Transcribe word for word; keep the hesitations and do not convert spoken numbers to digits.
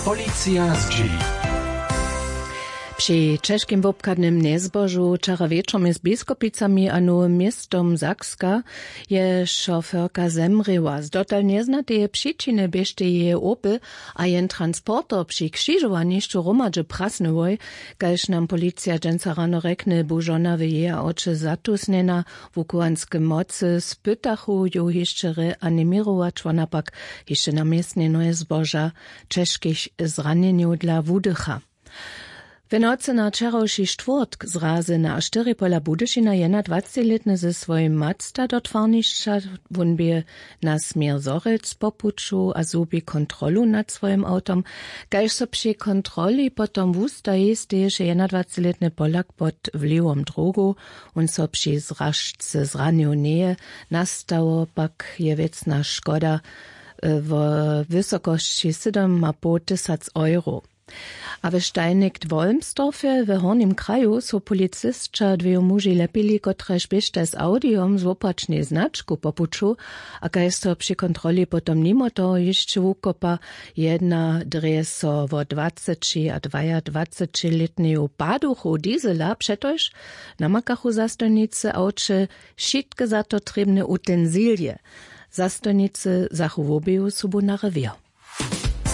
Policija zdźěli. Při ćežkim wobchadnym njezbožu wčera wječor mjez Biskopicami a Nowym Městom Sakska je šoferka zemrěła. Z dotal njeznateje přičiny běštej jeje Opel a jen transporter při křižowanišću hromadźe prasnyłoj. Kaž nam policija dźensa rano rjekny, bu žona w jeje awće zatusnjena. Wuchowanske mocy spytachu ju hišće reaniměrować, wona pak hišće na městnje njezboža ćežkich zranjenjow dla wudycha. W nocy na wčerawši štwórtk zrazy na štyri pola Budyšina jednadwacećilětny ze swojim Mazda do twarnišća. Wón bě na směr Zhorjelc po puću a zhubi kontrolu nad swojim awtom. Kaž so při kontroli potom wustaji, steješe jednadwacećilětny Polak pod wliwom drogow. Wón so při zražce zranił njeje. Nastało pak je wěcna škoda, e, wo wysokosći sydomapołtysac euro. A w Steinigk w Wolmsdorfje w Hornim kraju su policisća dweju muži lepili, kotrež běštaj z awdijom z wopačnej značku po puću. A kaž so při kontroli potom nimo toho hišće wukopa, jedna drje so wo dwaceći a dwajadwacećilětneju paduchu diesela, přetož namakachu zastojnicy awće wšitke za to trěbne utensiliije. Zastojnicy zachu wobeju sobu na rewěr.